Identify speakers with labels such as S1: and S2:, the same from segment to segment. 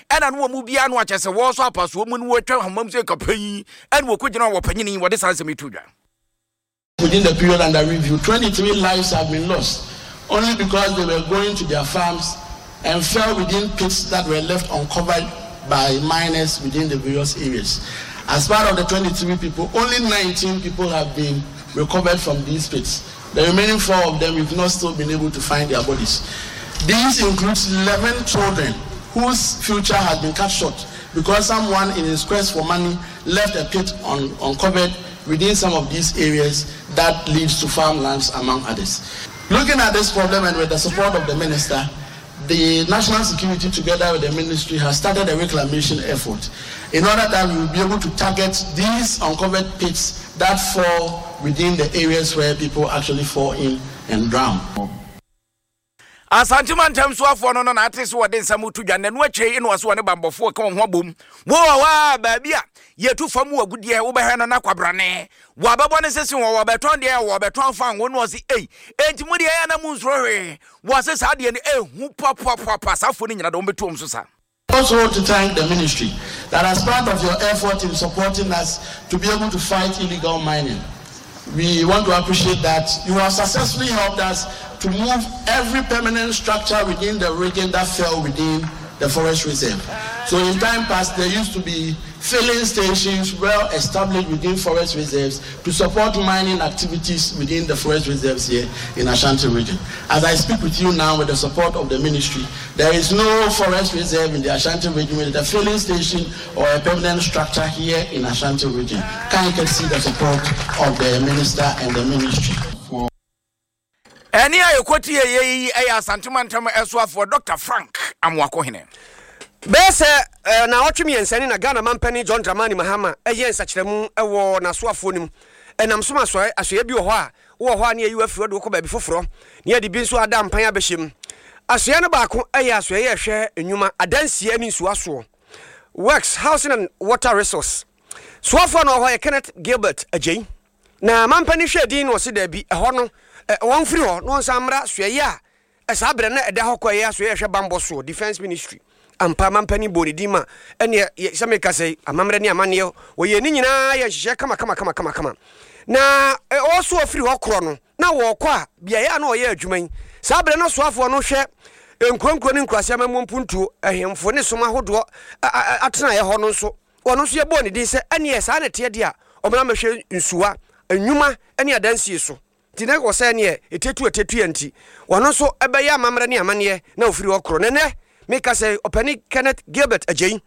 S1: Ɛna no wɔn mu biara no akyɛ sɛ wɔresɔ apasoɔ mu no wɔatwa ahoma mu sɛ kapanyin ɛna wɔkɔgyina wɔ panyini wɔde saa nsɛm yi to dwa.
S2: Within the period under review, 23 lives have been lost only because they were going to their farms and fell within pits that were left uncovered by miners within the various areas. As part of the 23 people, only 19 people have been recovered from these pits. The remaining four of them, we've not still been able to find their bodies. These includes 11 children whose future has been cut short because someone in his quest for money left a pit un uncovered within some of these areas that leads to farmlands, among others. Looking at this problem and with the support of the minister, the national security together with the ministry has started a reclamation effort in order that we will be able to target these uncovered pits that fall within the areas where people actually fall in and drown.
S1: Asante mantam soafoɔ no no na ate sɛ wɔde nsɛm reto dwa. Nnanu akyire yi na ɔse wɔne banbɔfoɔ reka wɔn ho abom. Wo wɔ hɔ a, baabi a yɛtu fam wɔ agudeɛ, wobɛhwɛ no na kwabrane. Wɔabɛbɔ no sese wɔ wɔbɛtɔn deɛ wɔbɛtɔn fango na ɔse ei, enti mo deɛ ɛyɛ a na monsuro hwee. Wɔse saa deɛ no ɛhu papaapa, saa foɔ no nyina deɛ wɔbɛtu wɔn so sa.
S2: Also to thank the ministry that as part of your effort in supporting us to be able to fight illegal mining, we want to appreciate that you have successfully helped us to move every permanent structure within the region that fell within the forest reserve. So in time past, there used to be filling stations well established within forest reserves to support mining activities within the forest reserves here in Ashanti region. As I speak with you now, with the support of the ministry, there is no forest reserve in the Ashanti region with a filling station or a permanent structure here in Ashanti region. Can you see the support of the minister and the ministry?
S1: Ɛnne a yɛkɔtieeɛ yi yɛ Asante Mantam soafoɔ Dɔkta Frank Amoakohene.
S3: Bɛyɛ sɛ naawɔtwe mmiɛnsa ni na Ghana manpanin John Dramani Mahama yɛɛ nsakyeramu wɔ n'asoafoɔ no mu. Ɛnam so ma asoɛeɛ bi wɔ hɔ a, wowɔ hɔ a na yɛyi wo afiri hɔ de wo kɔ baabi foforɔ, na yɛde bi nso ada mpan abɛhyɛ mu. Asoɛeɛ no baako yɛ asoɛeɛ a ɛhwɛ nnwuma, adansie ne nsuo asoɔ, Works, Housing and Water Resource. Soafoɔ a na ɔwɔ hɔ yɛ Kenneth Gilbert Agyei. Na mampanin hwɛɛ din na ɔse daabi, ɛhɔ no wɔmfiri hɔ na wɔnsan mmra asoɛeɛ a saa berɛ na ɛda hɔ kɔ ɛyɛ asoɛeɛ a ɛhwɛ bammɔ soɔ, Defence Ministry. Ampa mampanin bɔɔ ne din ma ɛneɛ sɛ meka sɛ amammerɛ ne amanneɛ wɔyɛɛ ne nyinaa yɛ nhyehyɛɛ kama kama kama kama kama. Na ɔso ɔfiri hɔ korɔ no na wɔrekɔ a beaeɛ a na ɔyɛ adwuma yi saa berɛ na soafoɔ no hwɛ nkuro nkuro ne nkuraase amammuo mpuntuo, ahemfo ne som ahodoɔ atenaeɛ hɔ no nso Ɔno nso yɛbɔɔ ne din sɛ ɛneɛ saa na ɛteɛ deɛ a, ɔmmra mmɛhwɛ nsuwa, nnwuma ne adansie so. Nti na wɔ sɛ ɛneɛ ɛtietu ɛtietuiɛ nti, ɔno nso bɛyɛ amammerɛ ne amanneɛ na ɔfiri hɔ korɔ. Na ɛnnɛ meka sɛ Ɔpanin Kenneth Gilbert Agyei,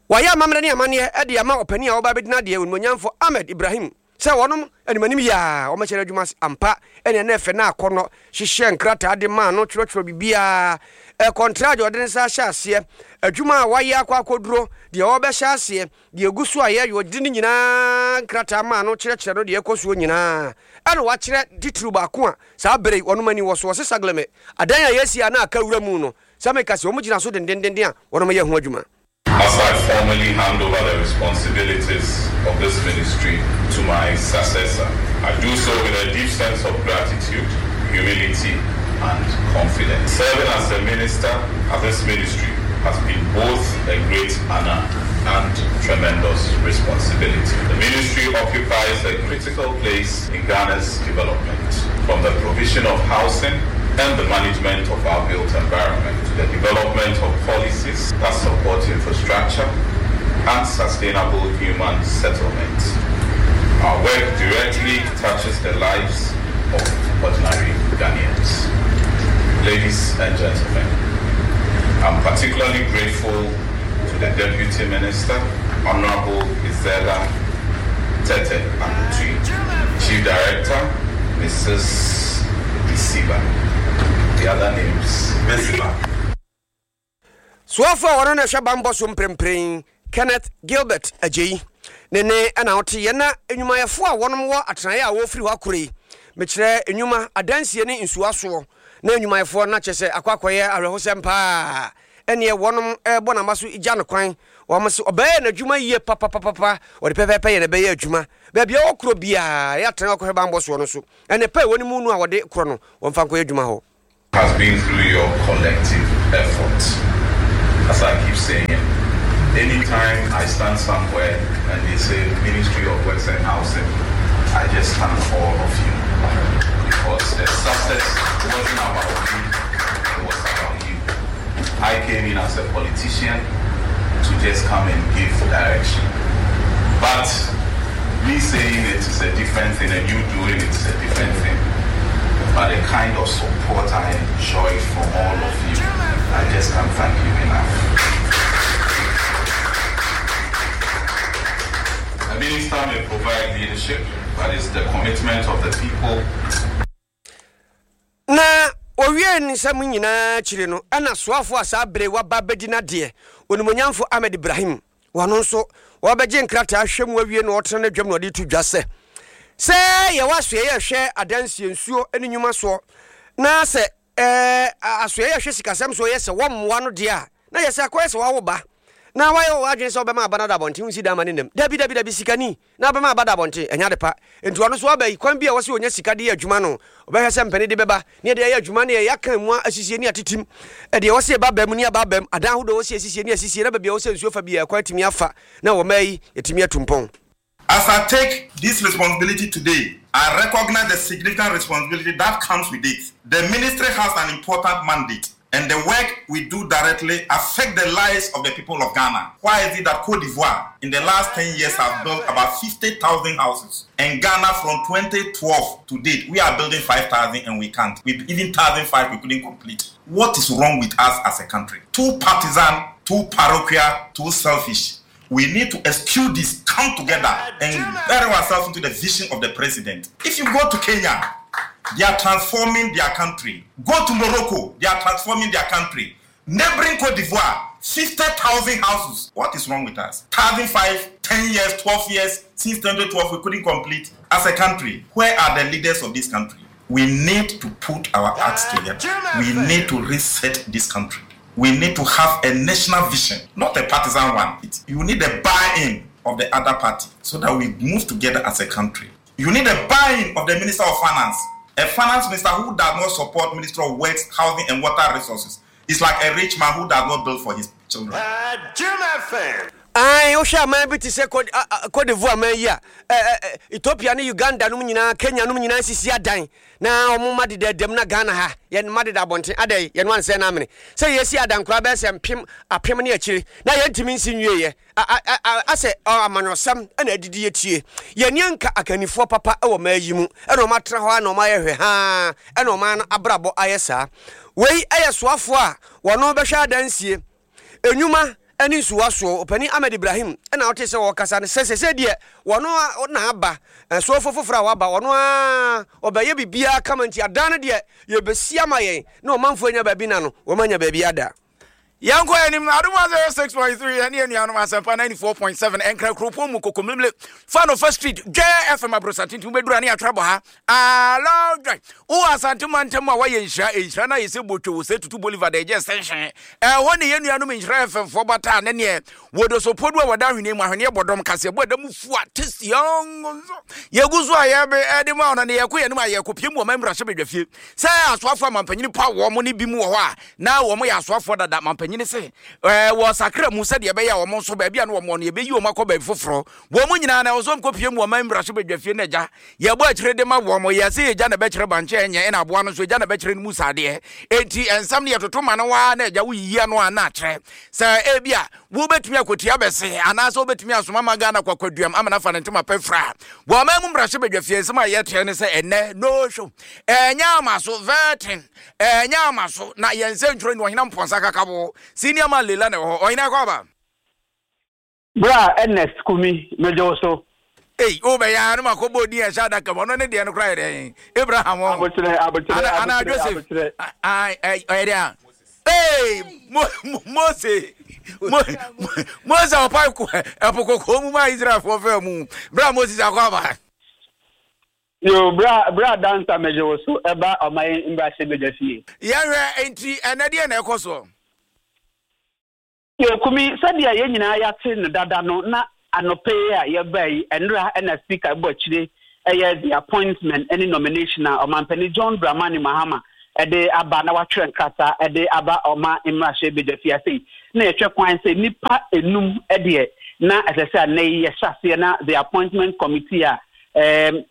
S3: wayɛ amammerɛ ne amanneɛ de ama ɔpanin a ɔreba abɛdi n'adeɛ, Onimuonyamfoɔ Ahmed Ibrahim, Sɛ wɔnom animanim yie a, wɔbɛhyɛ no adwuma ase ampa. Ɛnneɛ na ɛfɛ na akɔnnɔ hyehyɛɛ nkrataa de maa no twerɛtwerɛ biribiara. Ɛkɔntraa deɛ ɔde ne nsa ahyɛ aseɛ, adwuma a wayɛ akɔ akɔduro, deɛ ɔrebɛhyɛ aseɛ, deɛ ɛgu so a yɛyɛ, ɔde ne nyinaa nkrataa maa no kyerɛkyerɛ no deɛ ɛkɔ soɔ nyinaa. Ɛna wakyerɛ titiriw baako a saa berɛ yi wɔnom ani wɔ so. Ɔse Sagleme, adan a yɛasi a na aka wura mu no, sɛ meka sɛ wɔgyina so dendendenden a, wɔnom yɛ ho adwuma.
S4: As I formally hand over the responsibilities of this ministry to my successor, I do so with a deep sense of gratitude, humility, and confidence. Serving as a minister at this ministry has been both a great honor and tremendous responsibility. The ministry occupies a critical place in Ghana's development, from the provision of housing and the management of our built environment to the development of policies that support infrastructure and sustainable human settlement. Our work directly touches the lives of ordinary Ghanaians. Ladies and gentlemen, I'm particularly grateful to the Deputy Minister, Honorable Isela Tete Akutui, Chief Director, Mrs. Isiba. The other names, Mesiba.
S3: Soafo a ɔno na ɛhwɛ bammɔ so mprempren, Kenneth Gilbert Agyei, ne ne na ɔte yɛ na nnwumayɛfo a wɔnom wɔ atenaeɛ a wɔrefiri hɔ akorɔ yi, mekyerɛ nnwuma, adansie ne nsuo asoɔ, na nnwumayɛfoɔ no na kyerɛ sɛ akɔ akɔyɛ awerɛhosɛm paa, ɛneɛ wɔnom rebɔ n'aba so gya no kwan, wɔn se ɔbɛyɛ n'adwuma yie papapapapa, ɔde pɛpɛɛpɛ yɛ na ɛbɛyɛ adwuma, baabi a ɔwɔ korɔ biara, ɛyɛ atenaeɛ a ɔkɔhwɛ bammɔ soɔ no so, ɛne pɛ a ɛwɔ ne mu no a wɔde korɔ no, wɔmfa nkɔyɛ adwuma hɔ.
S4: Has been through your collective effort. As I keep saying, anytime I stand somewhere and they say Ministry of Works and Housing, I just thank all of you. Because the success wasn't about me, it was about you. I came in as a politician to just come and give direction. But me saying it is a different thing and you doing it is a different thing. But the kind of support I enjoyed from all of you, I just can't thank you enough. A minister may provide leadership, but it's the commitment of the people.
S3: Na owiee ne nsɛm nyinaa akyiri no, ɛna soafo a saa bere waba abedi n'adeɛ, Onimuonyamfo Ahmed Ibrahim, Ɔno nso, ɔrebɛgye nkrataa ahwɛ mu awie na ɔretena n'adwam na ɔde reto dwa sɛ, sɛ yɛwɔ asoɛeɛ a ɛhwɛ adansie, nsuo ne nnwuma soɔ, na sɛ ɛɛ asoɛeɛ a ɛhwɛ sikasɛm soɔ yɛ sɛ wɔmmoa no deɛ a, na yɛ sɛ akɔyɛ sɛ wawo ba na wayɛ w'adwene sɛ wobɛma aba no ada abɔnten, wonsi dan ma ne nam. Dabi, dabi, dabi, sikani na abɛma aba da abɔnten, ɛnyɛ ade pa. Enti ɔno nso aba yi, kwan bi a ɛwɔ sɛ ɔnya sika de yɛ adwuma no, ɔbɛhwɛ sɛ mpɛne de bɛba ne yɛde ayɛ adwuma ne yɛaka emu asisie ne atetem. Deɛ ɛwɔ sɛ ɛba aba mu ne aba aba mu, adan ahodoɔ a ɛwɔ sɛ yɛsisie ne asisie na baabi a ɛwɔ sɛ nsuo fa biara kwan atumi afa na wɔ mmaa yi yɛatumi atu mpɔn.
S5: As I take this responsibility today, I recognize the significant responsibility that comes with it. The ministry has an important mandate and the work we do directly affect the lives of the people of Ghana. Why is it that Cote d'Ivoire in the last 10 years have built about 50,000 houses? And Ghana from 2012 to date, we are building 5,000 and we can't. We, even 1,005 we couldn't complete. What is wrong with us as a country? Too partisan, too parochial, too selfish. We need to eschew this, come together and bury ourselves into the vision of the president. If you go to Kenya, they are transforming their country. Go to Morocco, they are transforming their country. Neighboring Cote d'Ivoire, 50,000 houses. What is wrong with us? 1,005, 10 years, 12 years, since 2012, we couldn't complete as a country. Where are the leaders of this country? We need to put our acts together. We need to reset this country. We need to have a national vision, not a partisan one. You need a buy-in of the other party so that we move together as a country. You need a buy-in of the Minister of Finance. A finance minister who does not support Minister of Works, Housing and Water Resources is like a rich man who does not build for his children.
S3: Ae, wohwɛ aman bi te sɛ Cote d'Ivoire man yi a, Ethiopia ne Uganda nom nyinaa, Kenya nom nyinaa sisi adan na wɔn mma deda dam na Ghana ha yɛn mma deda abɔnten. Adɛn, yɛn ansɛ na amene sɛ yɛsi adan koraa bɛyɛ sɛ mpem apem ne akyire na yɛntumi nsi nwieɛ. Asɛ amanyɔsɛm na adidi atie. Yɛn ani anka akannifoɔ papa wɔ ɔman yi mu ɛna wɔn atena hɔ a na wɔn ayɛ hwɛ haa ɛna ɔman no abrabɔ ayɛ saa. Wei yɛ soafoɔ a wɔn bɛhwɛ adansie, nnwuma ne nsuwa soɔ. Ɔpanin Ahmed Ibrahim na wote sɛ ɔrekasa no sɛ sɛsɛ deɛ wɔn na aba, soafoɔ foforɔ a waba wɔn ara ɔbɛyɛ biribiara kama nti adan no deɛ yɛbɛsi ama yɛn na ɔmanfoɔ anya baabi na no wɔn anya baabi ada.
S1: Yɛnkɔ anim Adom 106.3 ɛne anuanom Asɛmpa 94.7 Ɛnkra kuropɔn mu Kokomlemle Fanofa Street Dwɛ FM Abrosante nti wobɛduru a ne yɛatwerɛ bɔ ha Alɔ dwɛ Wowɔ Asante mantam a woayɛ nhyira Nhyira no ayɛ sɛ botwo wo sɛ tutu Bolivar da ɛgye extension Ɛhɔ ne yɛn nuanom Nhyira FM foɔ bata ne neɛ Wɔdɔ sopodu a wɔda ahweneɛ mu ahweneɛ bɔ dɔm kaseɛbɔ ɛda mu fua tasty ɔnso Yɛgu so a yɛbe ɛde ma ɔno ne yɛkɔ yɛn anim a yɛkɔpie mu wɔ man mmarahyɛbadwafie Sɛ asoafoɔ a mampanyini paw wɔn ne bi mu wɔ hɔ a na wɔn yɛ asoafoɔ dada. Mampanyini se ɛɛ wɔ sakra mu sɛdeɛ ɛbɛyɛ a wɔn nso baabi a na wɔn wɔ no yɛbɛyi wɔn akɔ baabi foforɔ. Wɔn nyinaa na ɛwɔ sɛ wɔkɔpue mu wɔ man mmarahyɛbadwafie no agya. Yɛbɔ akyire de ma wɔn. Yɛse agya na ɛbɛkyerɛ bankye a ɛnyɛ ɛna aboa no nso agya na ɛbɛkyerɛ no mu sadeɛ. Enti nsɛm no yɛtoto ma no ara na agya woyiyi ano a na akyerɛ sɛ ebia wobɛtumi akɔtua bɛse anaasɛ wobɛtumi asoma ma Ghana kwakwaduam ama no afa ne ntoma pɛ fira. Wɔ ɔman mu mmarahyɛbadwafie nsɛm a yɛteɛ ne sɛ ɛnnɛ no show ɛnyɛ ama so vetting Ɛnyɛ ama so na yɛn nsɛntwerɛ ni Ɔhene Amponsah Kakabo, Senior Man Leila na ɛwɔ hɔ. Ɔhene Akwaaba.
S6: Bra Ernest Kumi, megye wo so.
S1: Ei, wo bɛyɛ ara na makɔ bɔ din a ɛhyɛ adaka mu. Ɔno ne deɛ no koraa yɛ dɛn? Abraham ɔ.
S6: Abokyerɛ, abokyerɛ,
S1: Ana, ana
S6: abokyerɛ,
S1: Joseph.
S6: abokyerɛ.
S1: Ah, ɔyɛ dɛn a? Ei, Mo, Mo, Mose. Mo, Mo, Mose a ɔpae ko, ɛpo kɔkɔɔ mu maa Israelfoɔ faa mu. Bra Moses Akwaaba.
S6: Yo, bra, bra Dansa megye wo so ɛba ɔman mmarahyɛbadwa fie.
S1: Yɛhwɛ, enti ɛnnɛ deɛn na ɛkɔ soɔ?
S6: Yo, Kumi, sɛdeɛ yɛn nyinaa yɛate no dada no, na anɔpa yi a yɛbaa yi, ɛnora na Speaker bɔ akyire yɛ the appointment ne nomination a Ɔmanpanin John Dramani Mahama de aba na watwerɛ nkrataa de aba ɔma mmarahyɛ badwafie ase yi, na yɛhwɛ kwan sɛ nnipa enum deɛ na ɛsɛ sɛ annɛ yi yɛhyɛ aseɛ na the appointment committee a ɛɛm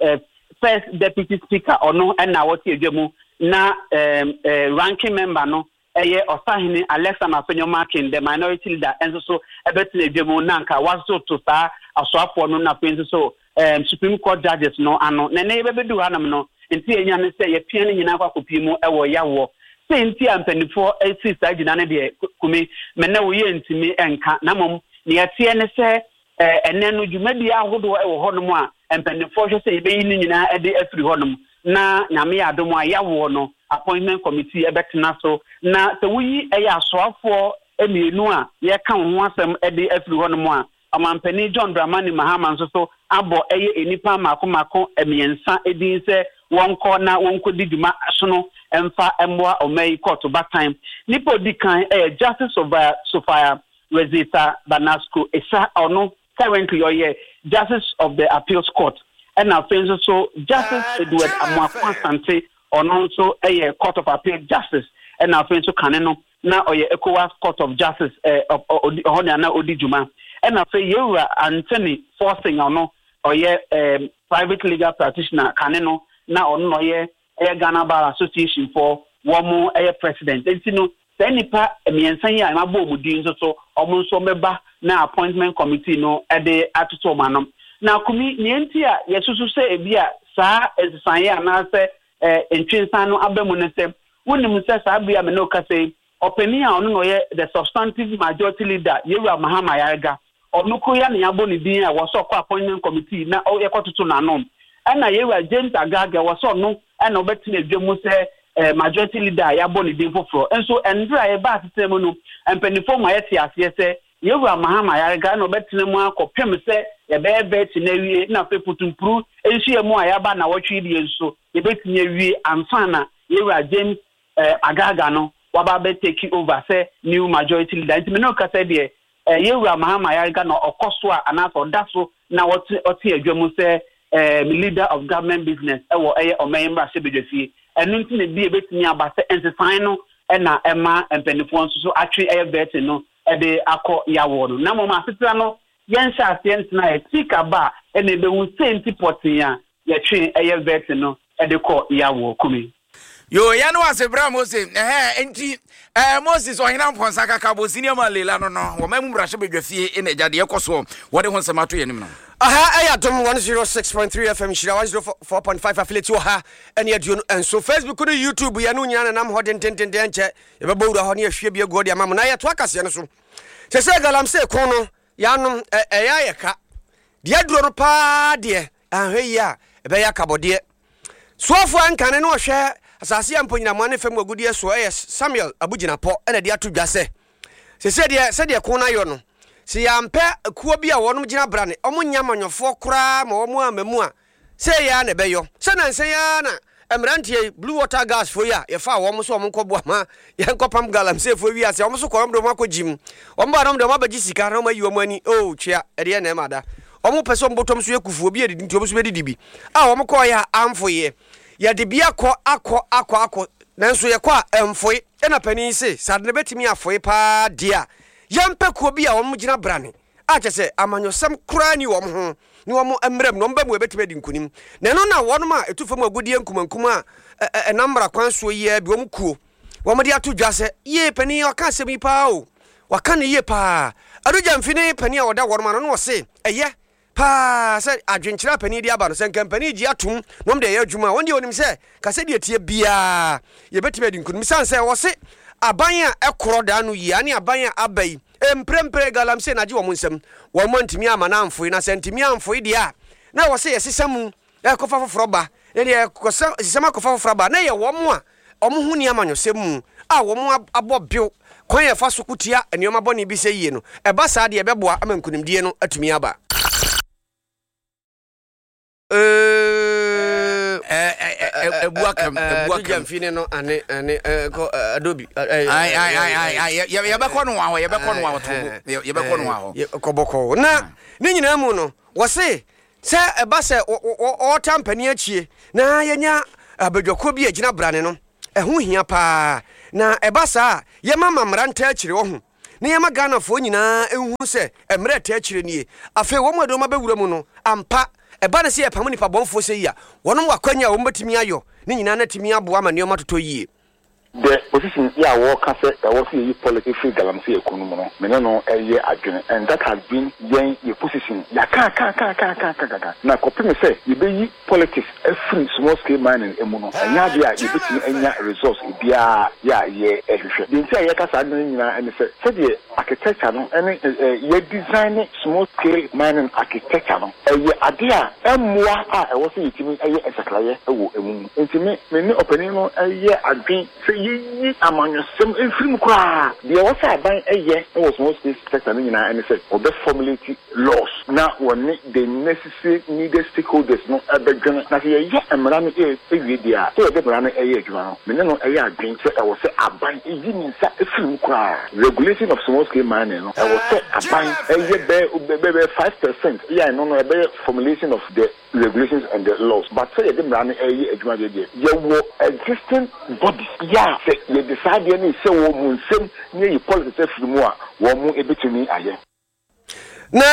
S6: first deputy speaker ɔno na ɔte adwa mu na ɛɛm ranking member no ɛyɛ Ɔsahene Alexander Afenyo Markin, the minority leader nso so bɛtena adwa mu na anka wɔatoto saa asoafoɔ no na afei nso so um, Supreme Court judges no ano. Na ɛnɛ yɛbɛbɛdu hanom no, nti yɛnya ne sɛ yɛpia no nyinaa kɔ akɔpie mu wɔ yawoɔ. Sɛ nti a mpanimfoɔ si saa gyina no deɛ, Kumi, me ne wo yɛntumi nka. Na mmom, nea ɛteɛ ne sɛ Ɛnnɛ no, dwumadie ahodoɔ wɔ hɔnom a mpaninfoɔ hwɛ sɛ yɛbɛyi ne nyinaa de afiri hɔnom na Nyame yɛ adom a yɛawoɔ no appointment committee bɛtena so na sɛ woyi ɛyɛ asoafoɔ mmienu a yɛreka wɔn ho asɛm de afiri hɔnom a Ɔmanpanin John Dramani Mahama nso so abɔ ɛyɛ nnipa mmaako mmaako mmiɛnsa din sɛ wɔnkɔ na wɔnkɔdi dwuma sono mfa mmoa ɔman yi kɔɔto batan. Nipa a ɔdi kan yɛ Justice Sophia Rosita Banasco Esa ɔno currently ɔyɛ Justice of the Appeals Court ɛna afei nso so Justice Edward Amoako Asante ɔno nso yɛ Court of Appeal Justice ɛna afei nso kane no na ɔyɛ ECOWAS Court of Justice ɛhɔ na na ɔdi dwuma ɛna afei Yɛwura Anthony Forson ɔno ɔyɛ private legal practitioner kane no na ɔno na ɔyɛ ɛyɛ Ghana Bar Association foɔ wɔn yɛ president nti no saa nnipa mmiɛnsa yi a mabɔ wɔn din nso so wɔn nso wɔbɛba na appointment committee no de atoto wɔn ano. Na Kumi, nea nti a yɛsusu sɛ ebi a saa nsesaeɛ anaasɛ eh, ntwensan no aba mu ne sɛ wonim sɛ saa bere a me ne wo kasa yi ɔpanin a ɔno na ɔyɛ the substantive majority leader Yewura Mahama Ayariga Ɔno koro yi ara na yɛabɔ ne din a ɛwɔ sɛ ɔkɔ appointment committee na yɛkɔtoto n'ano. Ɛna yɛn wura James Agaga ɛwɔ sɛ ɔno na ɔbɛtena adwa mu sɛ majority leader a yɛabɔ ne din foforɔ. Nso ɛnberɛ a yɛbaa asetena mu no, mpaninfoɔ ma yɛte aseɛ sɛ yɛn wura Mahama Ayariga na ɔbɛtena mu ara kɔpem sɛ yɛbɛyɛ vetting no awie na afei putumpuru nhyiamu a yɛaba nnawɔtwe yi deɛ nso yɛbɛtumi awie ansa na yɛn wura James Agaga no waba abɛ take over sɛ new majority leader. Nti me ne wo kasa yi deɛ Yɛn Wura Mahama Ayariga na ɔkɔ so a anaasɛ ɔda so na ɔte ɔte adwa mu sɛ leader of government business wɔ ɛyɛ ɔman yi mmarahyɛbadwafie. Ɛno nti na ebia ebetumi aba sɛ nsesae no na ɛma mpanimfoɔ nso so atwe ɛyɛ vetting no de akɔ yawoɔ no. Na mmom asetena no yɛnhyɛ aseɛ ntena ɛ speaker ba a ɛna ebehu sei nti pɔtee a yɛtwe ɛyɛ vetting no de kɔ yawoɔ. Kumi.
S1: Yo, yɛne wo ase bra Mose. Ɛhɛɛ, enti ɛɛ Moses ɔhene ampɔnsa kakabo senior man Leila no no, wɔn mu mmarahyɛ badwa fie na agya deɛ ɛkɔ soɔ wɔde ho nsɛm ato yɛn anim no.
S3: Aha ɛyɛ Adom 106.3 FM Nhyira 104.5 affiliate wɔ ha ɛne aduonu nso Facebook ne YouTube yɛne wo nyinaa nenam hɔ dendendenden ɛnkyɛ yɛbɛbɔ wura hɔ ne yɛahwie bi agu hɔ de ama mo na yɛtoa kaseɛ no so sɛ sɛ galamsey ko no yɛanom ɛyɛ ayɛ ka deɛ aduro no paa deɛ anhwɛ yie a ɛbɛyɛ akabɔdeɛ Soafoɔ a nkane no ɔhwɛ asase a mponyinamoa ne fam agudeɛ soɔ yɛ Samuel Abu Jinapor na ɛde ato dwa sɛ, Seesei deɛ sɛdeɛ ko no ayɔ no, sɛ yɛampɛ kuo bi a wɔnom gyina brane, wɔn nyɛ amanyɔfoɔ koraa ma wɔn amma mu a, sei ara na ɛbɛyɔ. Sɛ nansa yi ara na mmeranteɛ yi, Blue Water Guards foɔ yi a yɛfaa wɔn sɛ wɔn nkɔboa ma yɛnkɔpam galamseyfoɔ wiase a, wɔn nso kɔɔ, wɔn de wɔn akɔ gyim. Wɔn baa no wɔn de wɔn abɛgye sika na wɔn ayi wɔn ani, oh twea, ɛdeɛ na ɛma da. Wɔn pɛ sɛ wɔn bɔtɔm so yɛ kufuo, obi adidi nti wɔn nso bɛdidi bi. A wɔn kɔɔeɛ a amfoeɛ. Yɛde bi akɔ akɔ akɔ akɔ nanso yɛkɔ a ɛmfoe. Ɛna panin yi se sɛ ade no bɛtumi afoe paa deɛ a, yɛmpɛ kuo bi a wɔn gyina brane a kyerɛ sɛ amanyɔsɛm koraa nni wɔn ho ne wɔn mmra mu na wɔn ba mu a ɛbɛtumi adi nkunim. Na ɛno na wɔn a ɛtu fam agudeɛ nkumankuma a ɛnam mmara kwan soɔ yi ara bi wɔn kuo wɔde ato dwa sɛ, Yie, panin yi ɔka asɛm yi paa o, waka no yie paa. Adu Gyamfi ne panin a ɔda wɔnom ano no ɔse, ɛyɛ paa sɛ adwenkyerɛ a panin de aba no, sɛ nka mpanin gye atom na wɔn de ɛyɛ adwuma a, wɔn deɛ wɔnim sɛ ka sɛdeɛ ɛteɛ biara yɛbɛtumi adi nkonim. Sane sɛ wɔse aban a ɛkorɔ daa no yie ane aban a aba yi mprempren galamsey na agye wɔn nsam, wɔn antumi amma no amfoe, na sɛ antumi amfoe deɛ a na ɛwɔ sɛ yɛsesa mu ɛkɔfa foforɔ ba, na deɛ ɛkɔsa sisɛm akɔfa foforɔ aba, na ɛyɛ wɔn a wɔn ho nni amanyɔsɛm mu a wɔn abɔ bew kwan a ɛfa so ko tia nneɛma bɔne bi sɛ yie no, ɛba saa deɛ ɛbɛboa ama nkunimdie no atumi aba.
S1: Yɛbɛkɔ no hɔ, yɛbɛkɔ no hɔ, yɛbɛkɔ no hɔ.
S3: Kɔbɔkɔ na ne nyinaa mu no wɔse Sɛ ɛba sɛ wɔtaa mpanin akyie na yɛnya abadwakuo bi a ɛgyina brane no, ɛho hia paa na ɛba saa a yɛma ma mmara ntaa akyire wahu na yɛma Ghanafoɔ nyinaa nhu sɛ mmerɛ ɛtaa akyire nie. Afei wɔn a ɛde wɔn abɛwura mu no ampa ɛba no sɛ yɛpamo nnipa bɔnfoɔ sɛ yi a wɔnom wɔ akwanya a wɔn bɛtumi ayɔ ne nyinaa na atumi aboa ma nneɛma atotɔ yie.
S7: The position yi a wɔka sɛ ɛwɔ sɛ yɛyi politics firi galamsey ɛko no mu no, me ne no yɛ adwene and that has been yɛn yɛ position. Yɛakaakaakaakaakaakaaka na kɔpem sɛ yɛbɛyi politics afiri small scale mining mu no, ɛnyɛ adeɛ a yɛbɛtumi anya results biara yɛ a yɛhwehwɛ. Deɛ nti a yɛka saa ade no nyinaa ne sɛ, sɛdeɛ architecture no ne yɛ design small scale mining architecture no, ɛyɛ adeɛ a ɛmmoa a ɛwɔ sɛ yɛtumi yɛ nsakraeɛ wɔ ɛmu mu. Nti me me ne ɔpanin no yɛ adwen sɛ yɛnyi amanyɔsɛm mfiri mu koraa. Deɛ ɛwɔ sɛ aban yɛ wɔ small scale sector no nyinaa ne sɛ wɔbɛ formulate laws na wɔne the necessary needed stakeholders no bɛdwene. Na sɛ yɛyɛ mmara no wie deɛ a, sɛ yɛde mmara no yɛ adwuma no, me ne no yɛ adwen sɛ ɛwɔ sɛ aban yi ne nsa firi mu koraa. Regulation of small scale mining no, ɛwɔ sɛ aban yɛ bɛyɛ bɛyɛ 5% yɛ a ɛno no ɛbɛyɛ formulation of the regulations and the laws. But sɛ yɛde mmara no reyɛ adwuma deɛ deɛ, yɛwɔ existing bodies yɛ a sɛ yɛde saa adeɛ no rehyɛ wɔn nsam na yɛyi politics afiri mu a, wɔn bɛtumi ayɛ.
S3: Na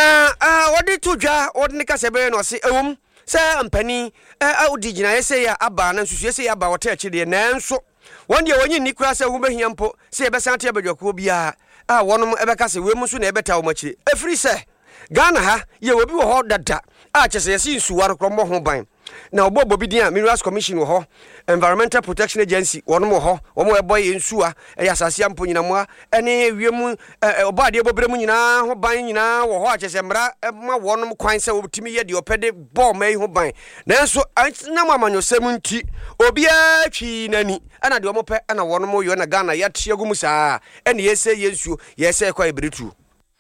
S3: ɔde to dwa, ɔde ne kasa bɛyɛ no ɔse, ɛwom sɛ mpanin ɔdi gyinaeɛ sei a aba na nsusuiɛ sei aba ɔte akyi deɛ, nanso wɔn deɛ wɔnye nni koraa sɛ ho bɛhia mpo sɛ yɛbɛsan ate abadwakuo biara a wɔnom ɛbɛka sɛ wei mu nso na ɛbɛtaa wɔn akyire, ɛfiri sɛ Ghana ha yɛwɔ bi wɔ hɔ dada a kyɛ sɛ yɛse nsuwa no korɔ mmɔ ho ban. Na wɔbɔ bɔ bi din a Minerals Commission wɔ hɔ, Environmental Protection Agency wɔnom wɔ hɔ, wɔn a ɛbɔ yɛn nsuwa, ɛyɛ asase a mpo nyinamoa ne wiem ɔbɔ adeɛ bɔberɛ mu nyinaa ho ban nyinaa wɔ hɔ a kyerɛ sɛ mmara ma wɔnom kwan sɛ wɔtumi yɛ deɛ ɔpɛ de bɔ ɔma yi ho ban. Nanso nam amanyɔsɛm nti obiara twii n'ani ɛna deɛ wɔpɛ ɛna wɔnom yɔ na Ghana yɛate agu mu saa ɛna yɛsɛ yɛn nsuo yɛsɛ ɛkɔ a yɛbɛtuo.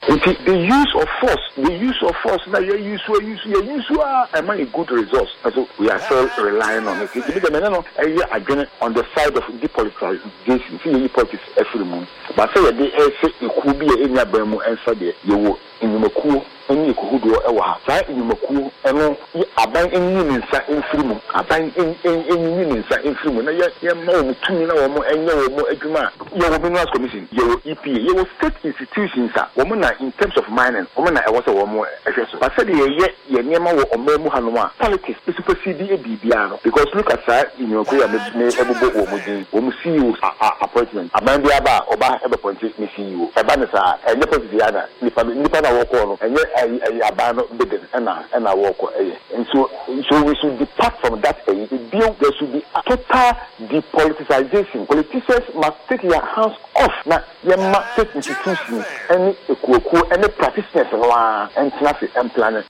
S7: Nti the use of force, the use of force na yɛ use a use yɛ use a ɛma yɛ good results nso we are still relying on it. Nti me deɛ me ne no yɛ adwene on the side of depoliticization sɛ yɛyi politics afiri mu but sɛ yɛde rehyɛ ekuo bi a ɛnni aban mu nsa deɛ yɛwɔ nnwumakuo ne ekuhodoɔ wɔ ha. Saa nnwumakuo no aban nyi ne nsa mfiri mu, aban nyi ne nsa mfiri mu na yɛmma wɔn tumi na wɔn nyɛ wɔn adwuma a. Yɛwɔ Minerals Commission, yɛwɔ EPA, yɛwɔ state institutions a wɔn na in terms of mining wɔn na ɛwɔ sɛ wɔn hwɛ so. But sɛdeɛ yɛyɛ yɛn nneɛma wɔ ɔman mu hanom a politics supersede biribiara no because look at saa nnwumakuo yi a me me bobɔ wɔn din, wɔn CEOs a appointment, aban biara ba a ɔba bɛ appointe ne CEO, ɛba no saa a ɛnyɛ politics yi ara na nipa no nipa no a wɔkɔɔ no ɛnyɛ ɛyi ɛyi aban no bidding ɛna ɛna wɔkɔ ɛyɛ nso so we should depart from that ɛyi bio there should be total depoliticization politicians must take their hands off na yɛma state institutions ɛne ekuokuo ɛne practitioners no ara ɛntena ase ɛmplane.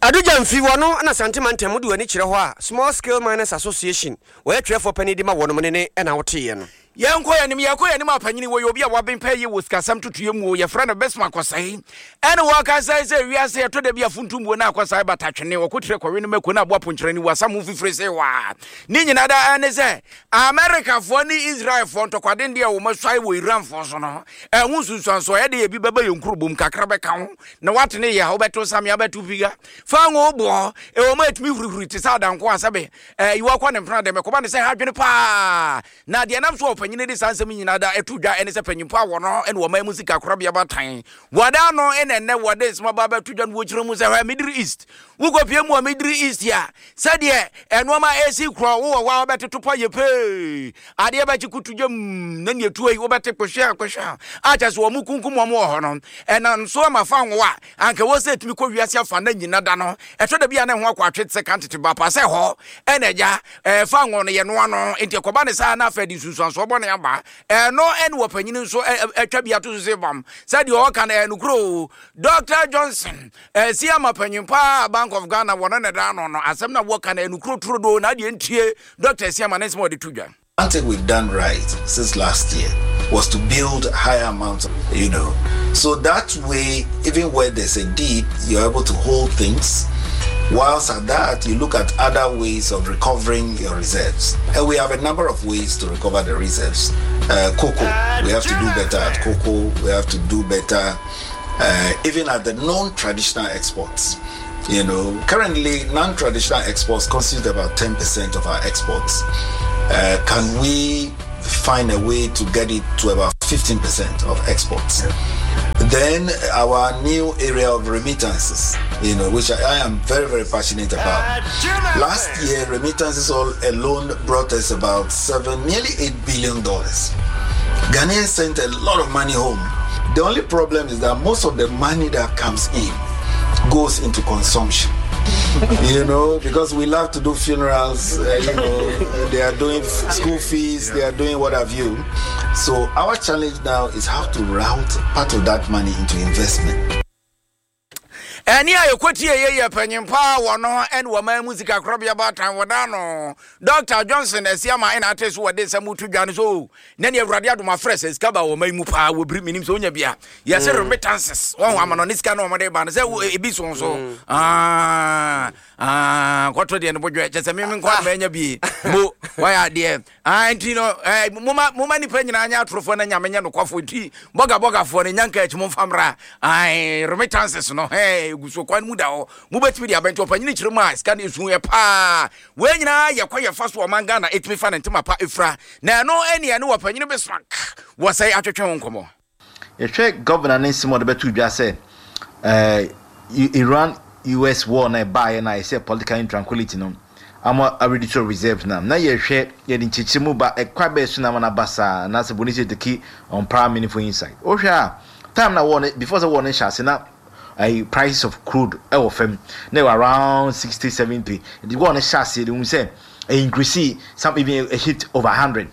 S3: Adu Gyamfi, wɔno na Asante mantam wode w'ani kyerɛ hɔ a, Small Scale Miners Association, wɔyɛ twerɛfoɔ panin de ma wɔnom ne ne na woteeɛ no.
S1: Yɛnkɔ yɛn anim, yɛkɔ yɛn anim a panyini wɔyɛ obi a waben pɛɛ yie wɔ sikasɛm totoeɛ mu o, yɛfrɛ no Bismarck Osei. Ɛne wɔka sɛ sɛ wiase ɛtɔ da bi a funtumbuo na akɔsae bata twene, ɔkotire kɔwe no mako na aboa ponkyerɛni wɔ asam ho fifire se waa. Ne nyinaa da ɛne sɛ Amerikafoɔ ne Israelfoɔ ntɔkwaden deɛ wɔn asuae wɔ Iranfoɔ so no, ɛho nsunsuansoɔ ɛde ebi bɛba yɛn nkurobom kakra bɛka ho na wate ne yɛ a wobɛto samea wobɛto piga fa ngo boɔ ɛwɔ mu ɛtumi hurihuri te sɛ adanko a sɛbe ɛyiwa kɔ ne mpena dɛm ɛkɔba ne sɛ ha adwene paa na deɛ nam so wɔ panyini de saa nsɛm nyinaa da ɛto dwa ɛne sɛ panyimfo a wɔno ɛne wɔn mu sika korabea batan wɔda ano ɛna ɛnɛ wɔde nsɛm aba abɛto dwa no wɔkyerɛ mu sɛ hɔ Middle East wokɔpie mu wɔ Middle East a sɛdeɛ ɛnoɔma ɛsi korɔ wowɔ hɔ a wobɛtoto pa yɛ pee adeɛ bɛkye kutu gyam na neɛ tuo yi wobɛte kɔhwɛ kɔhwɛ a kyɛ sɛ wɔn kunkum wɔn wɔ hɔ no ɛnam so ama fa ngo a anka wɔ sɛ ɛtumi kɔ wiase afa na nyina da no ɛtɔ da bi a na ɛho akɔ atwe te sɛ kan tete ba pa sɛ hɔ ɛna agya ɛfa ngo no yɛnoa no nti ɛkɔba ne saa na afei de nsunsuansoɔ bɔne aba ɛno ɛne wɔpanyini nso atwa bi ato so sɛ bam sɛdeɛ ɔka no ɛnokorɛ o Dr. Johnson Ɛsi ama panyin paa Bank of Ghana wɔn na ɛda ano no asɛm na wɔka no ɛnukuro turodoo na adeɛ ntie Dr. Asiama ne nsɛm a ɔde to dwa.
S8: One thing we've done right since last year was to build higher amounts, you know. So that way, even where there's a dip, you're able to hold things. Whilst at that, you look at other ways of recovering your reserves. And we have a number of ways to recover the reserves. Uh, cocoa, we have to do better at cocoa. We have to do better uh, even at the non-traditional exports. You know, currently non-traditional exports constitute about 10% of our exports. Uh, can we find a way to get it to about 15% of exports? Yeah. Then our new area of remittances, you know, which I, I am very, very passionate about. Last year, remittances all alone brought us about seven, nearly eight billion dollars. Ghanaians sent a lot of money home. The only problem is that most of the money that comes in goes into consumption. you know, because we love to do funerals, uh, you know, they are doing school fees, they are doing what have you. So our challenge now is how to route part of that money into investment.
S1: Ɛnne a yɛkɔtieeɛ yɛ panyin paa wɔ no ɛne wɔman mu sikakorabea baatan wɔda no Dr. Johnson Asiama ɛna ate so wɔde nsɛm reto dwa no so oh, na ne awurade adom afrɛ sɛ sika ba wɔman mu paa wɔ biri menim sɛ wonya bia yɛsɛ mm. remittances wɔn ama no ne sika na wɔde ba no sɛ ebi so nso mm. ah, ah, kɔtɔ deɛ no bodwɛ kyɛ sɛ meme nkɔ manya bie mo wɔyɛ adeɛ Ah, nti no, eh, moma, moma nipa nyinaa nyɛ atorofoɔ na nyame nyɛ nokwafoɔ nti bɔga bɔgafoɔ no nyanka akyi momfa mmra. Ae, remittances no, eh, gu so kwan mu da hɔ. Mobɛtumi de abɛnti ɔpanyini kyerɛ mu a sika no ɛsu yɛ paa. Wei nyinaa yɛ kwan yɛfa so ɔman Ghana ɛtumi fa ne ntoma pa ɛfira. Na ɛno ɛne ɛne ɔpanyini Bismarck wɔ sɛe atwetwe ho nkɔmmɔ.
S9: Yɛhwɛ Governor ne nsɛm a ɔde bɛto dwa sɛ Iran US war no a ɛbaeɛ no a ɛsɛ political intranquility no ama a reduce reserves no a, na yɛhwɛ yɛde nkyerɛkyerɛ mu ba ɛkwan bɛyɛ so na ama no aba saa anaasɛ bɔne sɛ take on prior meaningful insight. Wohwɛ a time na war no before sɛ war no hyɛ ase na ayi prices of crude ɛwɔ fam na ɛwɔ around 60 70 nti war no hyɛ ase de hu sɛ increase some even a hit over 100.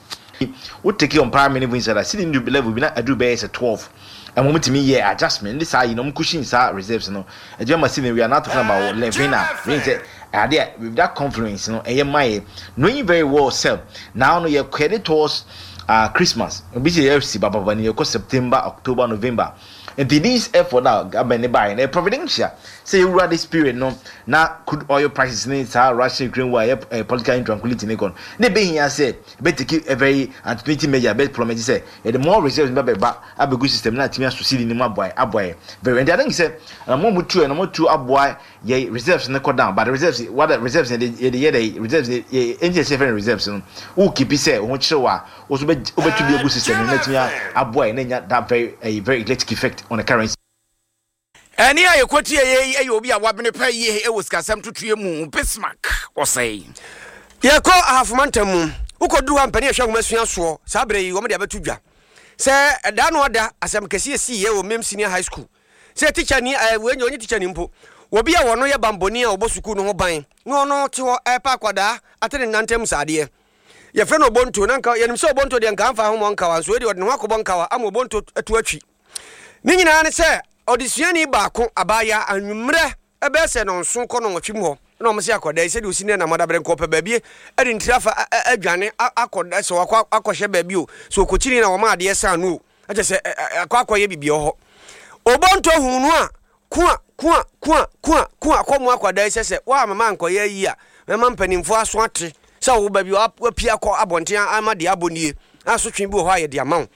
S9: Wo take on paa many vun sada cedi no du level bi na aduru bɛyɛ sɛ 12 ɛma ɔmo tumi yɛ adjustment ne saa yi na ɔmo cushion saa reserves no ɛtumi ama cedi no we are now talking about 11 a meaning sɛ ade a with that confluence no ɛyɛ ma yɛ knowing very well sɛ now no yɛ kɔ towards uh, Christmas obi sɛ yɛ si bababa ni yɛkɔ September October November nti this effort na government ne baayɛ no ɛyɛ providential sɛ yɛwura this period no na crude oil prices ne saa Russia Ukraine war ɛyɛ political intranquility ne kɔ no na ebehia sɛ Ɛbɛ take a very antinating measure ɛbɛ promise sɛ yɛde more reserves ba bɛba abɛgu system na atumi aso cedi no mu aboa aboa yɛ very nti I think sɛ anamɔ a wɔtu yɛ na wɔtu aboa yɛ reserves no kɔ down but reserves what the reserves yɛde yɛde yɛ dɛ reserves yɛ ɛnti ɛsɛ fɛn reserves no wo keep sɛ wo ho kyerɛ wo a wo so bɛ wobɛtu bi agu system no na atumi aboa yɛ na nya that very a very electric effect on the currency.
S1: Ɛnne a yɛkɔtieeɛ yi yɛ obi a wabene pa yie wɔ sikasɛm totoeɛ mu, Bismarck Osei.
S3: Yɛkɔ Ahafo mantam mu. Wokɔduru hɔ a, mpanin a ɛhwɛ nwomasua soɔ saa berɛ yi, wɔde abɛto dwa sɛ ɛda ano ada asɛm kɛseɛ siiɛ wɔ Mem Senior High School sɛ tikyani, ɛɛ wei nyɛ ɔnyɛ tikyani mpo, obi a ɔno yɛ banbɔni a ɔbɔ sukuu no ho ban na ɔno te hɔ ɛrepa akwadaa ate ne nantam saadeɛ. Yɛfrɛ no Obonto na nka yɛnim sɛ Obonto deɛ nka amfa ahomɔ nkawa nso wei deɛ ɔde ne ho akɔbɔ nkawa ama Obonto atu atwi. Ne nyinaa ne sɛ ɔdesuani baako, abaayewa, anwummerɛ bɛyɛ sɛ nnɔnson kɔ nnɔnwɔtwe mu hɔ na wɔn se akwadaa yi sɛdeɛ ɔsi ne nam adabrɛ nka ɔpɛ baabi de ne tiri afa adwane akɔ sɛ wakɔ akɔhyɛ baabi o sɛ ɔkɔkyini na wɔma adeɛ san no o ɛkyɛ sɛ akɔ akɔyɛ biribi wɔ hɔ. Obonto huu no a Kua, kua, kua, kua, kua, kɔ mu akwadaa yi sɛ sɛ woamma mankɔyɛ ayi a, mɛma mpanimfoɔ aso ate sɛ wo ba bi wapue akɔ abɔnten ama deɛ abɔ nie, asotwe bi wɔ hɔ a yɛde ama wo.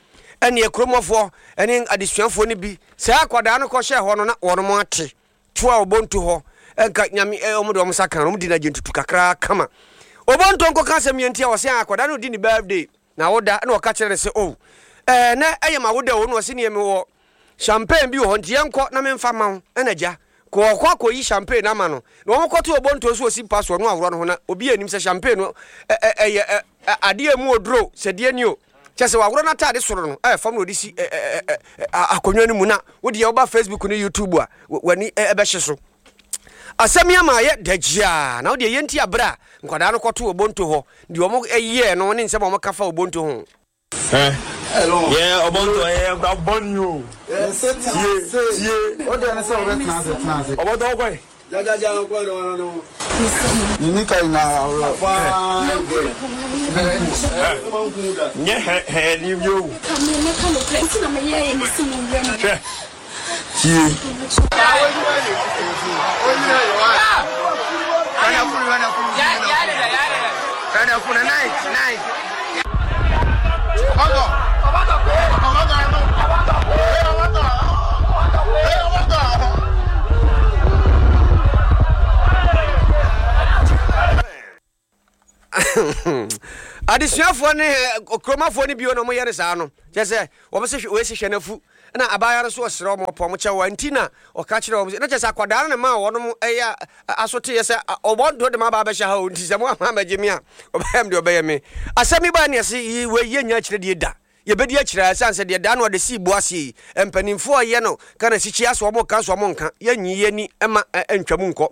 S3: Ɛnneɛ kuromɔfoɔ ne adesuafoɔ no bi, saa akwadaa no kɔhyɛɛ hɔ no na wɔnom ate to a Obonto hɔ, nka nyame wɔn de wɔn nsa ka no, wɔn di no agyentutu kakra kama. Obonto nkɔka asɛm yɛ nti a wɔsɛ akwadaa no di ne birthday na woda na ɔka kyerɛ no sɛ oh ɛɛ nɛ ɛyɛ ma woda o na ɔse neɛ mewɔ Champagne bi wɔ hɔ nti yɛnkɔ na memfa mma wo. Ɛna agya, kɔ ɔkɔ akɔyi champagne no ama no. Na wɔkɔto obonto nso ɔsi mpa soɔ na waworɔ ne ho na obi anim sɛ champagne no ɛyɛ adeɛ a ɛmu oduro sɛ deɛ ni o. Kyɛ sɛ waworɔ n'ataade soro no ɛyɛ fam na ɔde si akonnwa no mu na wo deɛ woba Facebook ne YouTube a w'ani ɛbɛhye so. Asɛm yi ama ayɛ dagyiaa na wo deɛ yɛnti aberɛ a nkwadaa no kɔto obonto hɔ deɛ wɔn yɛɛ no ne nsɛm a wɔka fa obonto ho.
S10: Eh, yeah, Obonto, eh, bɔnni o. Tie, tie.
S2: O deɛ ne sɛ wobɛtena ase tena ase.
S10: Obonto ɔkɔ yi.
S2: Jajaja ɔkɔ yi ɔno no. Nini ka nyinaa awura fine girl.
S10: Nyɛ hɛ hɛ ni bi o. Hwɛ, tie.
S3: Adesuafoɔ ne kuromafoɔ no bio na wɔyɛ no saa no, kyerɛ sɛ wɔn se wei se hwɛ n'afu, na abaayewa no nso ɔsrɛ wɔn ɔpɛ wɔn kyɛw a nti na ɔka kyerɛ wɔn sɛ, na kyerɛ sɛ akwadaa no na maa wɔn ɛyɛ aso teeɛ sɛ ɔbɔ nto de ma aba abɛhyɛ ha o, nti sɛ mo ama abɛgye me a ɔbɛyɛ me deɛ ɔbɛyɛ me. Asɛm yi baa ne ɛse yi wei yɛnnya akyire die da. Yɛbɛdi akyire ara ɛsiane sɛ deɛ daa no ɔde sii bo aseɛ yi, mpanimfoɔ a ɛyɛ no ka na sikyi asɛ wɔn ka nso wɔn nka, yɛnyi yɛn ani mma ɛntwa mu nkɔ.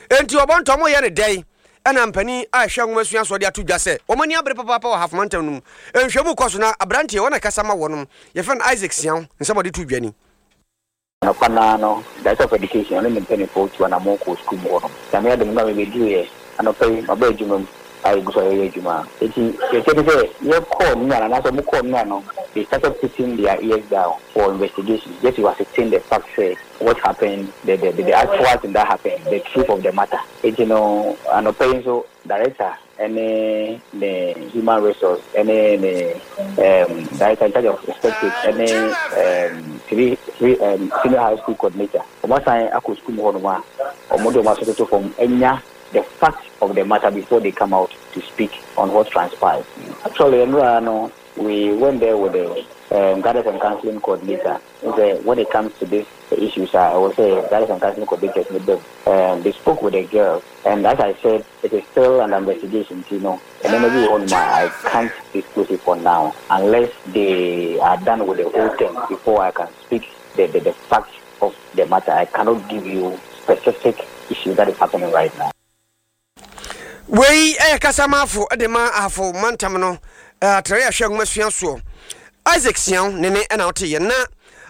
S3: Enti wɔbɔ ntɔ wɔyɛ no dɛn? Ɛna mpanin a ɛhwɛ nwomasua soɔ de ato dwa sɛ wɔn ani abere papaapa wɔ Ahafo mantam no mu. Nhwɛmu kɔ so na aberanteɛ wɔn na ɛkasa ma wɔnom, yɛfrɛ no Isaac Siaw, nsɛm a ɔde to dwa ni.
S11: Anɔpa no ara no, Director of Education, ɔne ne mpaninfoɔ tuu anamɔn kɔɔ sukuu mu hɔ nom. Nyame adom, mmerɛ a mebeduruiɛ anɔpa yi, maba adwuma mu a yɛgu so a yɛreyɛ adwuma. Enti deɛ ɛteɛ ne sɛ, yɛkɔɔ nnora no, anaasɛ wɔkɔɔ nnora no, they started putting their ears down for investigation just to ascertain the fact sɛ what happened, the the the actual thing that happened, the truth of the matter. Enti no, anɔpa yi nso, Director ne ne human resource ne ne um, director in charge of inspectorate ne um, three, three, um, senior high school coordinator. Wɔn asan akɔ sukuu mu hɔnom a wɔn de wɔn aso toto fam anya the fact of the matter before they come out to speak on what transpired. Actually, nnora no, we went there with the guidance and counseling coordinator. Sɛ when it comes to this issues a ɛwɔ sɛ guidance and counseling coordinators no ba mu. They spoke with the girl and as I said it is still under investigation nti no nneɛma bi wɔ hɔnom a I can't disclose it for now unless they are done with the whole thing before I can speak the the, the fact of the matter. I cannot give you specific issue that is happening right now.
S3: Wei yɛ kasamafo de ma Ahafo mantam no atrae a ɛhwɛ nwomasua soɔ. Isaac Siaw ne ne na ɔteeɛ. Na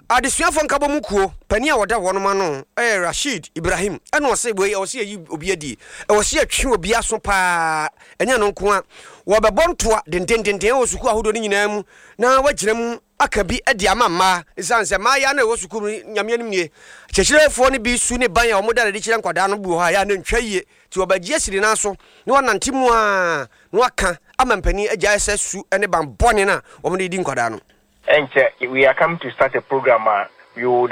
S3: adesuafoɔ nkabɔmu kuo panin a ɔda wɔnom ano yɛ Rasheed Ibrahim. Ɛna ɔse wei ɛwɔ sɛ yɛyi obi adie, ɛwɔ sɛ yɛtwe obi aso paa, ɛnyɛ ɛno nko a, wɔbɛbɔ ntoa dendendenden wɔ sukuu ahodoɔ no nyinaa mu na wɔagyina mu aka bi de ama mmaa esiane sɛ mmaayaa no a ɛwɔ sukuu mu no, Nyame anim nie, akyerɛkyerɛfoɔ no bi su ne ban a wɔda no adi kyerɛ nkwadaa no bi wɔ hɔ a ɛyɛ a na ɛntwa yie, nti wɔbɛgye asi ne nan so na wɔanante mu ara na wɔaka ama mpanin agyae sɛ su ne ban bɔne no a wɔde redi nkwadaa no.
S12: Ɛnkyɛ we are coming to start a program a we would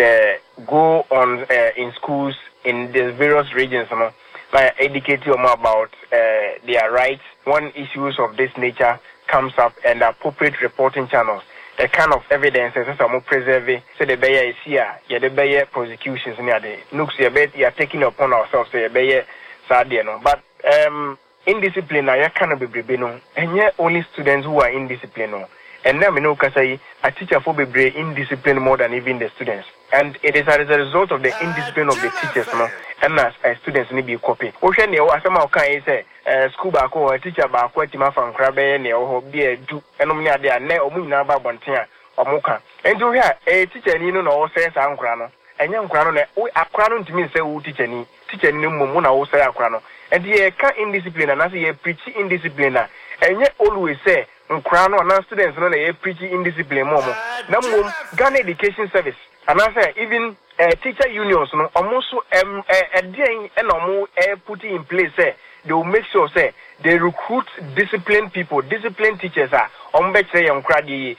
S12: go on in schools in the various regions no na yɛ educate wɔn about their rights when issues of this nature comes up and appropriate reporting channels, the kind of evidence a ɛsɛ sɛ wɔn preserve sɛdeɛ ɛbɛyɛ a ɛsi a yɛde bɛyɛ prosecutions ne ade. Looks yɛbɛ yɛ are taking it upon ourselves sɛ yɛbɛyɛ saa adeɛ no but um, indiscipline a yɛka no bebrebe no ɛnyɛ only students who are indiscipline no. Ɛnnɛ a me ne wo kasa yi, atikyafoɔ bebree indiscipline more than even the students. And it is as a result of the indiscipline of the teachers no ɛna students no bi kɔpe. Wohwɛ nea ɛwɔ asɛm a ɔkaeɛ yi sɛ eh, sukuu baako wɔ hɔ, teacher baako atumi afa nkwadaa bɛyɛ nea ɛwɔ hɔ bi a du nom ne adeɛ a nnɛ wɔn nyinaa ba abɔnten a wɔka. Enti wohwɛ a ɛyɛ tikyani no na ɔresɛe saa nkwadaa no, ɛnyɛ nkwadaa no na wo akwadaa no ntumi nsɛe wo tikyani, tikyani no mmom wo na woresɛe akwadaa no. Enti yɛreka indiscipline anaasɛ yɛrepreachi indiscipline a, ɛnyɛ always sɛ Nkoraa no anaa students no na yɛ preachi indiscipline ma ɔmo na mmom Ghana Education Service anaasɛ even eh teacher unions no ɔmo nso ɛm ɛ ɛdeɛn ɛna ɔmo ɛ puti in place sɛ they will make sure sɛ they recruit disciplined people, disciplined teachers a ɔmo bɛkyerɛ yɛn nkoraa deɛ yie.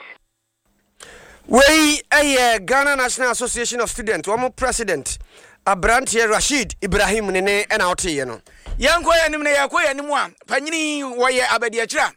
S3: Wei yɛ Ghana National Association of Students wɔn president aberanteɛ Rasheed Ibrahim ne ne na woteeɛ no.
S1: Yɛnkɔ yɛn anim na yɛkɔ yɛn anim a, panyini wɔyɛ abadiakyire a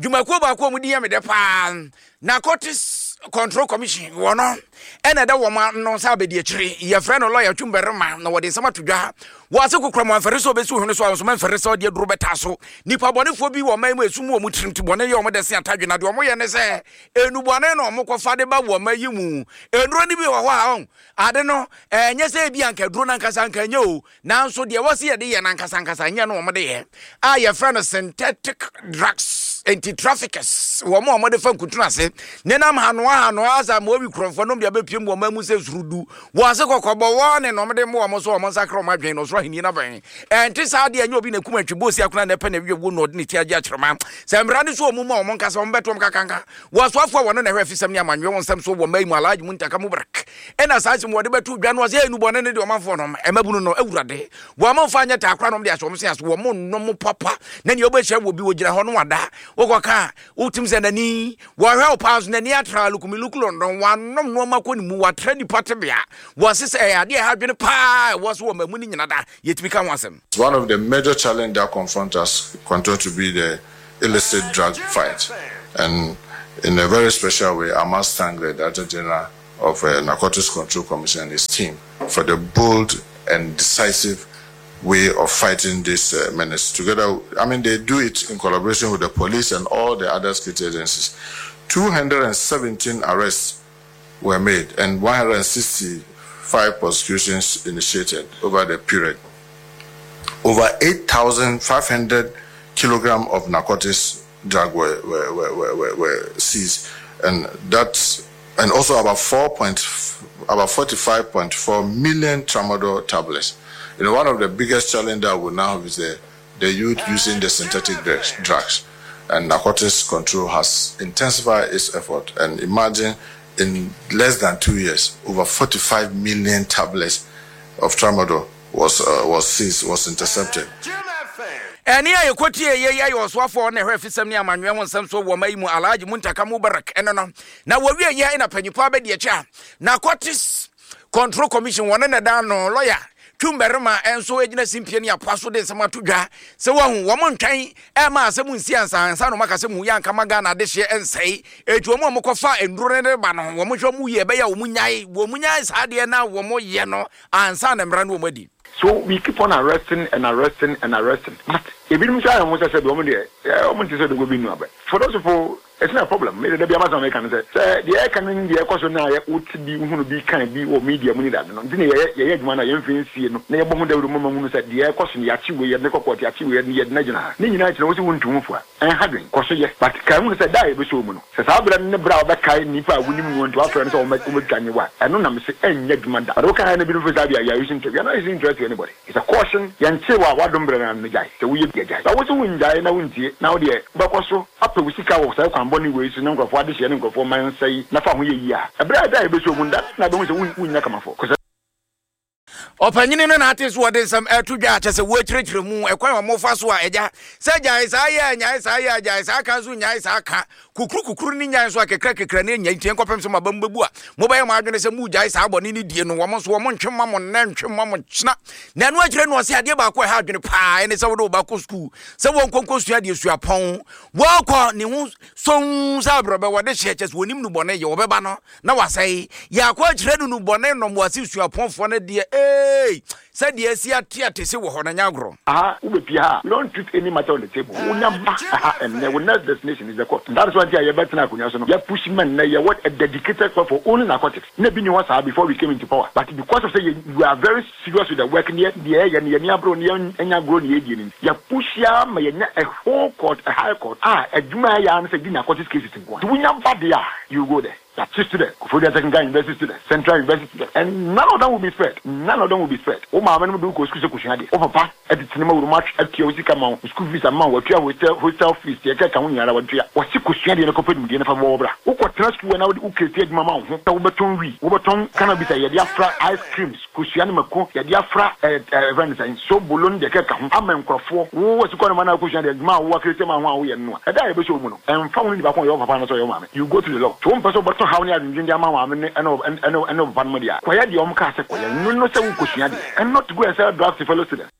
S1: dwumakuo baako a wɔn din yɛ me dɛ paa, Narcotics Control Commission wɔ no ɛna ɛda wɔn ano sɛ abadiakyire. Yɛfrɛ no lɔya Twumbarima na wɔde nsɛm ato dwa. Wɔ ase kokora mu amfɛre sɛ ɔbɛsi ohene so a ɔnsoma mfɛre sɛ ɔde aduro bɛtaa so. Nipa bɔnefoɔ bi wɔ ɔman mu a esum wɔ wɔn tirim ti bɔne yɛ wɔn dɛ se atadwe na deɛ wɔyɛ ne sɛ Nnubɔne na wɔkɔfa de ba wɔ ɔman yi mu. Nnuro no bi wɔ hɔ a, ɔn, ade no, ɛnyɛ sɛ ebi anka aduro no ankasa anka ɛnyɛ o, nanso deɛ ɛwɔ sɛ yɛde yɛ no ankasa ankasa ɛnyɛ no wɔde yɛ, a yɛfrɛ no synthetic drugs. Enti traffickers, wɔn a wɔde fa nkuntunu ase, nenam hanoa hanoa asa ma owi korɔmfoɔ nom de abɛpiem wɔ ɔman mu sɛ surudu. Wɔ ase kɔkɔbɔ wɔne na wɔde mmoa wɔn so wɔn nsakra wɔn adwene na ɔsoro ahenni no abɛn. Ɛnte saa deɛ, ɛnyɛ obi na ɛkum antwi bɔɔ si akona na ɛpɛ na ɛwie wuo na ɔde ne ti agye akyerɛma. Sɛ mmara no so wɔn mu a wɔn nkasa wɔn bɛto wɔn kakanka. Wɔ asoafoɔ a wɔno na ɛhwɛ afisɛm ne amanyɔɛ wɔn nsɛm so wɔ mmaa yi mu Alhaji Muntaka Mubarak ɛna saa asɛm wɔde bɛto dwa no ɔsɛ nnubɔne ne deɛ ɔmanfoɔ nom mmabunu no awurade wɔn mfa nyɛ taa koraa nom de ahyɛ wɔn se ase wɔn nnom papa na nea wobɛhyia wɔ bi wɔgyina hɔ no wada wokɔka a wotim sɛ n'ani wɔhwɛ wo paa nso n'ani atra lukumiluku london wanom nnoɔma kɔ ne mu watra nipa tebea wɔse sɛ ɛyɛ adeɛ ɛha adwene paa ɛwɔ so wɔ mmamu no nyina da yɛtumi ka ho asɛm.
S13: One of the major challenge that confront us continue to be the.
S4: illicit drug fight. And in a very special way, I must thank the Director General of uh, Narcotics Control Commission and his team for the bold and decisive way of fighting this uh, menace. Together, I mean, they do it in collaboration with the police and all the other security agencies. 217 arrests were made and 165 prosecutions initiated over the period. Over 8,500 kilograms of narcotics drug were, were, were, were, were seized, and that's and also about 4 point, about 45.4 million tramadol tablets. You know, one of the biggest challenge that we now have is the, the youth using the synthetic drugs, drugs. And narcotics control has intensified its effort. And imagine in less than two years, over 45 million tablets of tramadol was, uh, was seized, was intercepted.
S1: Ɛnne a yɛkɔtiee yei yɛ ɔsoafoɔ a ɔna ɛhwɛ afisɛm ne amanyɔɛ ho nsɛm soɔ wɔ ɔman yi mu Alhaji Muntaka Mubarak ɛno no na wɔwie yɛ na panyinfoɔ abɛdi akyi a Narcotics Control Commission wɔne na ɛda ano lɔya Twum Barima nso gyina simpie ne apoa so de nsɛm ato dwa sɛ wɔahu wɔn ntwɛn ɛma asɛm nsi ansa ansa na wɔaka sɛ mu yɛ anka ma Ghana adehyeɛ nsɛe eti wɔn a wɔkɔfa nnuro no de ba no wɔn hwɛ wɔn yie ɛbɛyɛ a wɔn nyae wɔn nyae saa adeɛ na wɔn yɛ no ansa na mmara no wɔn adi.
S13: So we keep on arresting and arresting and arresting but ebinom nso ayɛ wɔn ho sɛ sɛbi wɔn deɛ wɔn nte sɛ dogo bi nnu abɛ. For those people it's not a problem. Me deɛ da biara m'asɛm a meka ne sɛ sɛ deɛ ɛka no ne deɛ ɛkɔ so no a yɛ wote bi wohunu bi kan bi wɔ media mu ne dade no nti na yɛyɛ yɛyɛ adwuma no a yɛmfa nsie no na yɛbɔ ho dawuro ma mahunu sɛ deɛ ɛkɔ so no yɛakye wei yɛde no kɔ court yɛakye wei yɛde yɛde no agyina ha ne nyinaa akyi no wose wontu ho fua. Ɛnha dwen, kɔ so yɛ. But kae hunu sɛ da a yɛbɛsɔ wo mu no, sɛ saa berɛ no ne berɛ a wobɛkae nnipa a wonim noɔ nti woafrɛ no sɛ wɔmmɛtwa nye wo a, ɛno na mese ɛnyɛ adwuma da. But woka ha na binom feel saa bia, you are using we are not using threat to anybody. It's a caution, yɛnkyee wo a w'adom berɛ no ano no gyae, sɛ woyɛ bi a gyae. But wose wongyae na wontie, na wodeɛ wobɛkɔ so apɛ wo sika wɔ saa kwan bɔne wei so ne nkorɔfoɔ adehyeɛ ne nkorɔfoɔ mma nsɛe na fa ho yɛ yie a, ɛberɛ a da a yɛbɛsɔ wo mu no, da no na wobɛhu sɛ wonnya kamafoɔ. Kɔ
S1: Ɔpanyini no na ate so wɔde nsɛm ɛto dwa a kyɛ sɛ wɔakyerɛkyerɛ mu ɛkwan a wɔfa so a agya sɛ gyae saa yɛ a nyae saa yɛ a gyae saa ka nso nyae saa ka kukuru kukuru ne nyae nso a kekra kekra ne nyae nti nkɔpem sɛ mo aba mu bɛbu a mobɛyɛ mo adwene sɛ mogyae saa bɔne ne die no wɔn nso wɔn ntwe ma mo nnɛ ntwe ma mo kyena na ɛno akyerɛ no ɔsɛ adeɛ baako a ɛha adwene paa ɛne sɛ wode wo ba kɔ sukuu sɛ wɔnkɔnkɔ sua adeɛ suapɔn wɔkɔ ne ho sɔn sɛ abrɛbɛ wɔde hyɛ kyɛ sɛ wɔnim no bɔne yɛ wɔbɛba no na wasɛe. Yɛakɔ akyerɛ no nnubɔne nom wɔ ase suapɔnfoɔ no deɛ eei sɛdeɛ asi ate atese wɔ hɔ no ɛnyɛ agorɔ.
S13: Aha wobɛpie ha a, we don't treat any matter on the table. Wonya ba ha ɛnnɛ, wo next destination is the court. That is why nti a yɛbɛtena akonnwa so no, yɛ push ma nnɛ yɛwɔ a dedicated court for only narcotics. Na ebi nni hɔ saa before we came into power. But because of sɛ yɛ we are very serious with the work ne deɛ yɛyɛ no, yɛn ani abere ne yɛn anya agorɔ ne yɛdie no nti, yɛ push ara ma yɛnya a whole court, a high court a adwuma a ɛyɛ ara ne sɛ di narcotics cases nko ara. Nti wonya ba deɛ a, you go there. Yɛakye students, Koforidua Technical University students, Central University students, and none of them will be spared. None of them will be spared. Wo maame nom de wo kɔ sukuu sɛ kosua adeɛ. Wo papa tete ne ma wurom atwe atua wo sika ma wo, wo school fees ama wo, watua hostel hostel fees, deɛ ɛkeka ho nyinaa watua. Wɔse kosua adeɛ na kɔpɛ nimdeɛ na fa bɔ wo bra. Wokɔ tena sukuu a na wode wo create adwuma ma wo ho sɛ wobɛtɔn wii, wobɛtɔn cannabis a yɛde afra ice creams, Kosua ne mako yɛde afra ɛɛ yɛfrɛ no sɛn, sobolo ne deɛ ɛkeka ho ama nkurɔfoɔ. Wo asukɔ no ma no a wokɔsua deɛ adwuma a wo akretie ma ho a woyɛ no no a, ɛda a yɛbɛsɔ wo mu no, ɛmfa ho ne nipa ko a ɔyɛ wo papa anaasɛ ɔyɛ wo maame. You go to the law. Sɛ wompɛ sɛ wobɛtɔ haw ne adwendwen de ama wo maame ne ɛne wo ɛne wo papa nom deɛ a, kɔyɛ deɛ wɔn kaa sɛ kɔyɛ no no sɛ wokɔsua deɛ and not to go and sell drugs to fellow students.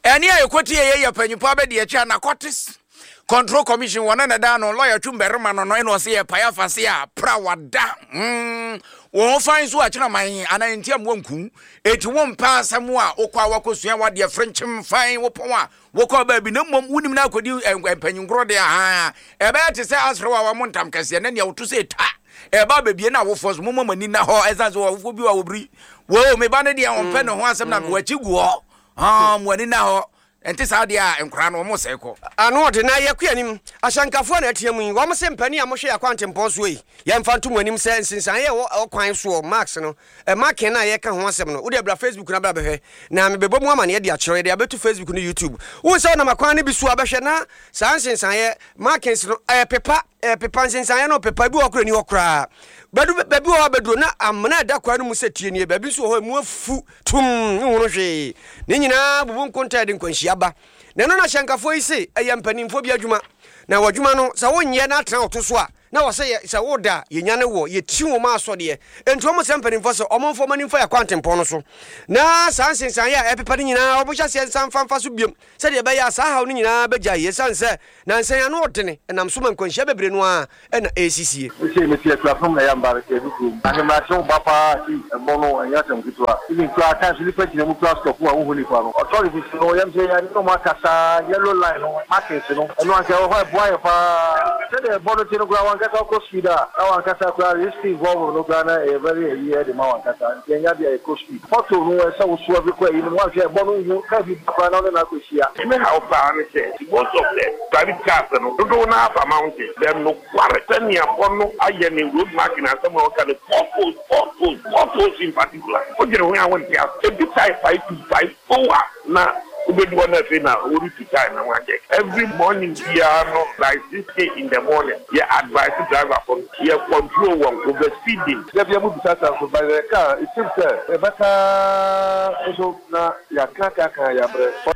S1: Ɛnne a ɛkɔtieeɛ yɛ panyimfoɔ abadiakyiri a Narcotics Control Commission wɔn na ɛda ano lɔya twum barima no no ɛna ɔse yɛ pae afase a pra wada mm, wɔn ho fan so akyena man anaa nti a mmoa nku eti wɔn mpɛ asɛm a wokɔ a wakɔsua wadeɛ frenkyem fan wopɔn a wokɔ baabi na mmom wonim na akɔdi mpanyinkorɔ deɛ ha ɛbɛyɛ te sɛ asere wa wɔn ntam kɛseɛ na nea woto sɛ ta ɛba bebie na awofoɔ so momma mo ani na hɔ ɛsan sɛ awofoɔ bi wɔ wɔbiri wo me ba no deɛ ɔmpɛ ne ho asɛm na wakyi gu hɔ Haa, mo ani nna hɔ. Ɛnte saa deɛ a, nkwadaa no, wɔresɛe kɔ.
S3: Ano ɔde na yɛkɔ anim. Ahyɛnkafoɔ na ɛtea mu yi. Wɔn se mpanin a mohwɛ yɛn akwantempɔn soɔ yi, yɛmfa nto mo anim sɛ nsensaneɛ a ɛwɔ ɔkwan soɔ, marks no, marking no a yɛreka ho asɛm no, wodeɛ bra Facebook na bra bɛhwɛ. Na mebɛbɔ mu amaneɛ de akyerɛ wo. Yɛde abɛto Facebook ne YouTube. Wohu sɛ wonam akwan no bi so a, bɛhwɛ na saa nsensaneɛ, markings no, ɛrepepa, ɛrepepa, nsensaneɛ no repepa. Ebi wɔ hɔ koraa ɛnni hɔ koraa. Bɛdu, baabi wɔ hɔ a bɛduro na amena a ɛda kwan no mu sɛ tie nie. Baabi nso wɔ hɔ a emu afu. Tumm, nhunu hwee. Ne nyinaa bubu nkontaa de nkwanhyia ba. Na ɛno na hyɛnkafoɔ yi se ɛyɛ mpanimfoɔ bi adwuma. Na w'adwuma no, sɛ wonyɛ na atena wo to so a, na wɔ sɛ yɛ sɛ woda a yɛnyane wɔ yɛti wɔn asɔdeɛ. Enti wɔn srɛ mpanimfoɔ sɛ wɔn mfa wɔn ani mfa yɛn akwantempɔn no so na saa nsensaneeɛ a ɛrepepa no nyinaa wɔn hyɛ aseɛ nsan mfa mfa so biom sɛdeɛ ɛbɛyɛ a saa haw no nyinaa bɛgyae esiane sɛ nnansa yi ano ɔdene nam so ma nkwanhyia bebree no ara na ɛresisie.
S14: Mese mete akuapem na yamba mete adu kurom. Ahemakye wo ba paa see ɛbɔ no ɛnyɛ asɛm ketewa even koraa times nipa gyina mu koraa stop a wonhu nipa no. Authorities no yɛm sɛ yɛne ɔmo akasa yellow line no markings no ɛno anka ɛwɔ hɔ a ɛboa yɛn paa. Sɛdeɛ ɛbɔ no te no koraa wankasa wokɔ speed a na wankasa koraa risk involved no koraa na ɛyɛ very ayi ɛde ma wankasa nti ɛnyɛ adeɛ a yɛkɔ speed. Pothole no ɛsɛ wo swerve kɔ ayi no mu wanhwɛ a ɛbɔ no nhu car bi ba koraa na wone no akɔ hyia.
S15: Me haw paa ne sɛ most of the private cars no dodow no ara fa mountain bɛ nokware sɛnea bɔ no ayɛ ne road marking asɛm a wɔka no potholes potholes potholes in particular wodwene ho a wonte ase ebi tae pae tu pae pow a na wobedu hɔ na afei na woretu tae na wɔakyɛ every morning biara no by 6 in the morning yɛ advice driver fo no yɛ control wɔn over speeding.
S14: Da bia mo bisa sa nso but yɛ ka a it seems sɛ yɛ bɛka aa nso na yɛ ka ka ka yɛ abrɛ.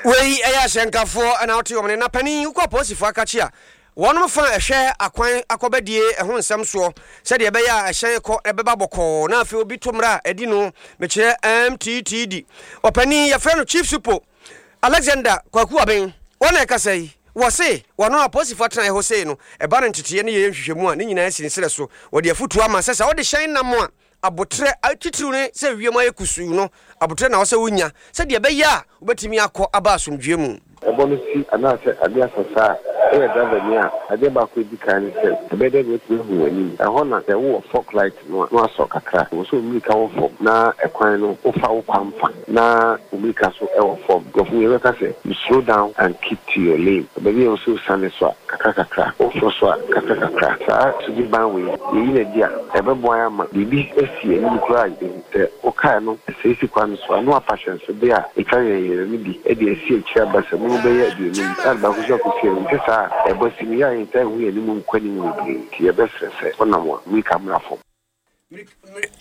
S3: Wei yɛ ahyɛnkafoɔ na wote wɔn nne. Na panin, wokɔ apolisifoɔ akakye a, wɔnom fa ɛhwɛ akwan akɔbɛdie ɛho nsɛm soɔ sɛdeɛ ɛbɛyɛ a ɛhyɛn kɔ ɛbɛba bɔkɔɔ na afei obi to mmara a ɛdi no, mekyerɛ MTTD. Ɔpanin, yɛfrɛ no Chief Supo Alexander Kwaku Aben, wɔn na ɛkasa yi. Wɔse wɔno apolisifoɔ atenaeɛ hɔ sei no, ɛba no nteteeɛ ne yɛyɛ nhwehwɛmu a, ne nyinaa si ne serɛ so. Wɔde afotuo ama sɛ sɛ wode hyɛn nam a, Aboterɛ titiriw ne sɛ wiem ayɛ kusuu no, aboterɛ na ɛwɔ sɛ wunya sɛdeɛ ɛbɛyɛ a wobɛtumi akɔ aba asomdwoeɛ mu.
S16: Ɛbɔ no si anaasɛ ade asa saa a, woyɛ driverni a, adeɛ baako a ɛdi kan ne sɛ, ɛbɛyɛ dɛn na woatumi ahu w'anim? Ɛhɔ na sɛ wowɔ fog light no a, na wasɔ kakra. Ɛwɔ sɛ wo mmirika wɔ fam na ɛkwan no wofa wo kwan fa na wo mmirika nso wɔ fam. Nkurɔfo wei bɛka sɛ, You slow down and keep to your lane. Baabi a ɛwɔ sɛ wosiane so a, kakra kakra, woforo so a, kakra kakra. Saa suban wei, yɛyi no adi a, ɛbɛboa yɛn ama biribi asi yɛn anim koraa a yɛbɛhu. Sɛ wokae no, sɛ esi kwan no so a, na wafa ahyɛnsode a etwa yɛn yɛn no bi de asi akyiri aba sɛ mu bɛyɛ aduonum, na ade baako nso akosi anim. Ɛnte saa a, ɛbɔ si no, yɛ a yɛntaa nhu yɛn anim nkɔ anim bebree, nti yɛbɛsrɛ sɛ wonam a, mmirika mmra fam.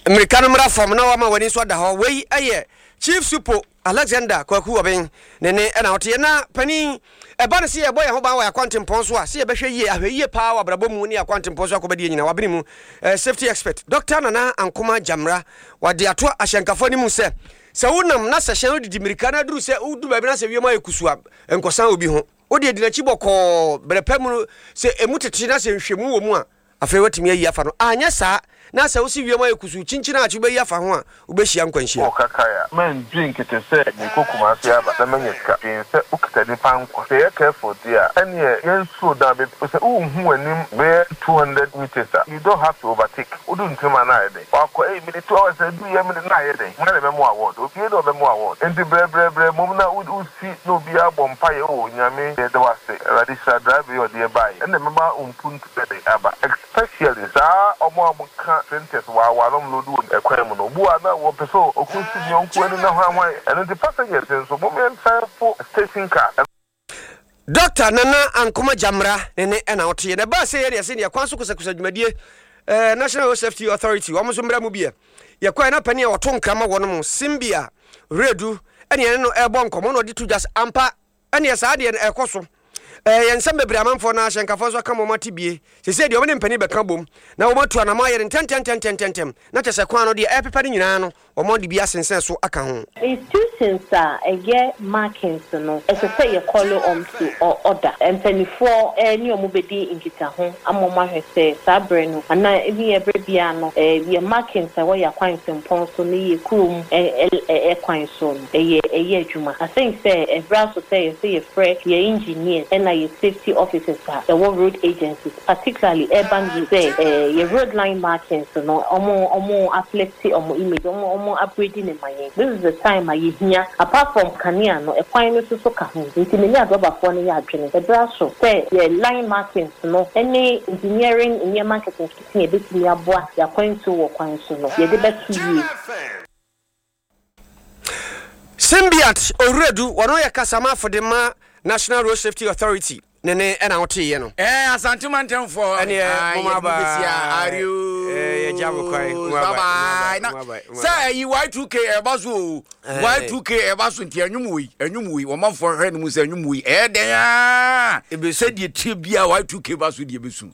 S3: Mmirika no mmra fam na wama w'ani nso ada hɔ. Wei yɛ Chief Supo Alexander Kwaku Obeng ne ne na ɔteɛ. Na panin, ɛba no sɛ yɛbɔ yɛn ho ban wɔ yɛn akwantempɔn so a, sɛ yɛbɛhwɛ yie, ahwɛyie paa wɔ abrabɔ mu ne yɛn akwantempɔn so akɔbɛdeɛ nyinaa. Wabene mu, Safety expert, Dɔkta Nana Ankoma Gyamera, wade ato ahyɛnkafoɔ anim sɛ, sɛ wonam na sɛ hyɛn redidi mmirika na aduru sɛ wodu baabi na sɛ wiem ayɛ kusuu a, nkɔsan obi ho. Wo deɛ di n'akyi bɔkɔɔ, berɛ pa mu no, sɛ ɛmu tete na sɛ nhwɛmu wɔ mu a, Afei woatumi ayi afa no. Anyɛ saa na sɛ wose wiem ayɛ kusuu kyinkyin a akyi wobɛyi afa ho a, wobɛhyia nkwanhyia.
S17: Wɔ kakae a, mɛndwen kɛkɛ sɛ merekɔ Kumasi aba na manya sika. Dwen sɛ wokita nipa nkwa. Sɛ yɛyɛ careful deɛ a, ɛneɛ yɛn slow down bɛ sɛ wonhu w'anim bɛyɛ 200 metres a, you don't have to overtake. Wodu ntem a na ayɛ dɛn? Wakɔ ei mede 2 hours aduru yɛ mede na ayɛ dɛn? Hwan na ɛbɛma wo award? Obiara ni a ɔbɛma wo award. Nti brɛbrɛbrɛ mmom na wosi na obiara bɔ mpaeɛ oh Nyame yɛda wo ase, Awurade hyira driver yi a ɔde yɛ baeɛ. Ɛna ɛbɛma wo mpuntuo. Bɛde aba especially saa ɔmo a ɔmo ka printers waawa na ɔmo load wɔ ɛkwan mu no obi wɔ ha na ɔpɛ sɛ ɔko si ne yɔnko ani na hwan hwan ɛno nti passengers nso mom yɛn san fo station car.
S3: Dɔkta Nana Ankoma Gyamera ne ne ɛna ɔteɛ na ɛbaa sɛ yɛ ne ɛse neɛ kwan so kusakusa dwumadie eh, National Road Safety Authority wɔn nso mmra mu bi ɛ yɛkɔɛ na panin a ɔto nkra ma wɔn mo Simbia Redu ɛne ɛne no ɛrebɔ nkɔmmɔ na ɔde to dwa sɛ ampa Ɛneɛ saa deɛ no ɛkɔ so. Ɛyɛ nsɛm bebree amanfoɔ no ahyɛnkafoɔ nso aka ma wɔn ate bie. Seesei deɛ wɔn ne mpanin bɛka bom na wɔn atu anamɔ ayɛ no ntɛntɛntɛntɛntɛm na kyerɛ sɛ kwan no deɛ ɛrepepa no nyinaa no wɔn de bi asensɛn so aka ho.
S18: Institutions a ɛyɛ markings no, ɛsɛ sɛ yɛ call wɔn to order. Mpaninfoɔ ne wɔn bɛdi nkitaho ama wɔn ahwɛ sɛ saa berɛ no anaa even ɛberɛ biara no yɛ markings a ɛwɔ yɛn akwantempɔn so ne yɛn kurom kwan so no. Ɛyɛ ɛyɛ adwuma. I think sɛ ɛberɛ aso sɛ yɛsɛ yɛfrɛ yɛ engineers ɛna yɛ safety officers a ɛwɔ road agencies particularly urban roads sɛ yɛ road line markings no ɔmo ɔmo uplifte ɔmo image ɔmo ɔmo upgrade no ma yɛn. This is the time a yɛhia apart from kanea no ɛkwan no nso so ka ho nti me ne adrɔbafoɔ no yɛ adwene ɛberɛ aso sɛ yɛ line markings no ɛne engineering nneɛma nketenkete a ɛbɛtumi aboa yɛ akwantuo wɔ kwan so no yɛde bɛto yie.
S3: Simbiat Owuredu, wɔno yɛ kasamafo de ma National Road Safety Authority ne ne ɛna woteeɛ no.
S1: Ɛɛ Asante mantamfoɔ.
S3: Ɛneɛ moma
S1: ba.
S3: Yɛgya mo kwan.
S1: Bye bye. Na sɛ ɛyi Y2K ɛba so o. Y2K ɛba so nti ɛnwom wei ɛnwom wei wɔmanfoɔ hwɛ no mu sɛ ɛnwom wei ɛyɛ dɛn aa. Sɛdeɛ tie biara Y2K ba so deɛ ɛbɛsu.